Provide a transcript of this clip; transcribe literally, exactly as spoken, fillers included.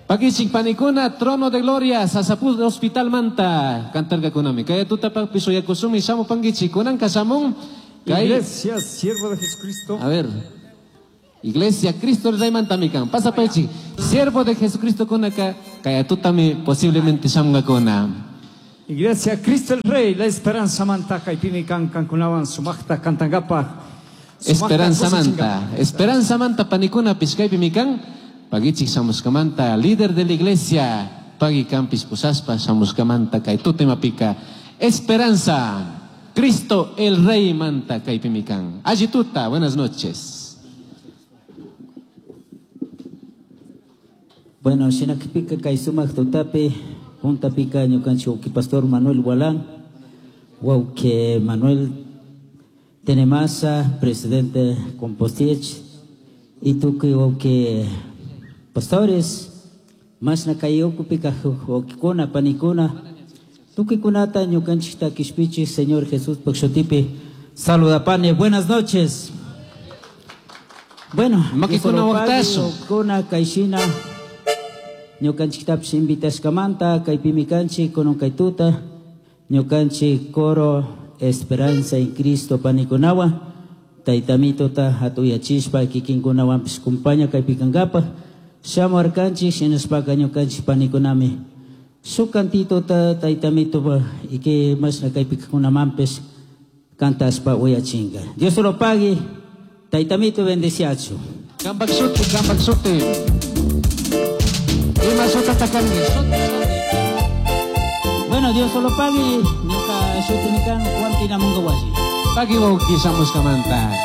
Pakichik panikuna, Trono de Gloria, Sasapuz Hospital manta, kantarkakunami. Kay tutapakpish shuyakushunmi shamupankichik, kunanka shamun. Kay Iglesia, siervo de Jesucristo. A ver. Iglesia Cristo el Rey mantami kan. Pasapaychik. Siervo de Jesucristo kunaka, kay tutami posiblemente shamungakuna. Iglesia Cristo el Rey, la esperanza manta kaypimi kan kankunawan sumaqta kantangapaj. Esperanza manta. Esperanza manta panikuna pishkaypimi kan. Pagichik shamushkamanta, líder de la iglesia, pagi kampis pushaspa shamushkamanta kay tutemapika. Esperanza, Cristo el Rey manta kaypimi kan. Alli tuta, buenas noches. Bueno, shinakpika kay sumaq tutapi, puntapika ñukanchik wawki pastor Manuel Gualán, wawki Manuel Tenemasa, presidente Compostich, y tukuy wawki pastores, mashna kay ukupika wawkikuna, panikuna, tukuykunata ñukanchikta kishpichik Señor Jesús shutipi saludapani. Buenas noches. Bueno, Makikuna waqtashu. wawkikuna kayshina ñukanchiktapish invitashkamanta kaypimi kanchik kunan kay tuta ñukanchik coro Esperanza en Cristo panikunawan taytamitota hatuyachishpa kikinkunawanpish kumpaña kaypi kankapaj shamuarkanchik shinashpaka ñukanchik panikunami shuk cantitota taytamitopa y mashna kaypi kajkunamanpish kantashpa uyachinka. Dios lo pague, taytamito bendeciachu. Kampak shuti, kampak shuti. Ima shutata kanki? Bueno, Dios lo pague, ñuka shuti mi kan Juan Tinamunga wasi. Pagui wawki shamushkamanta.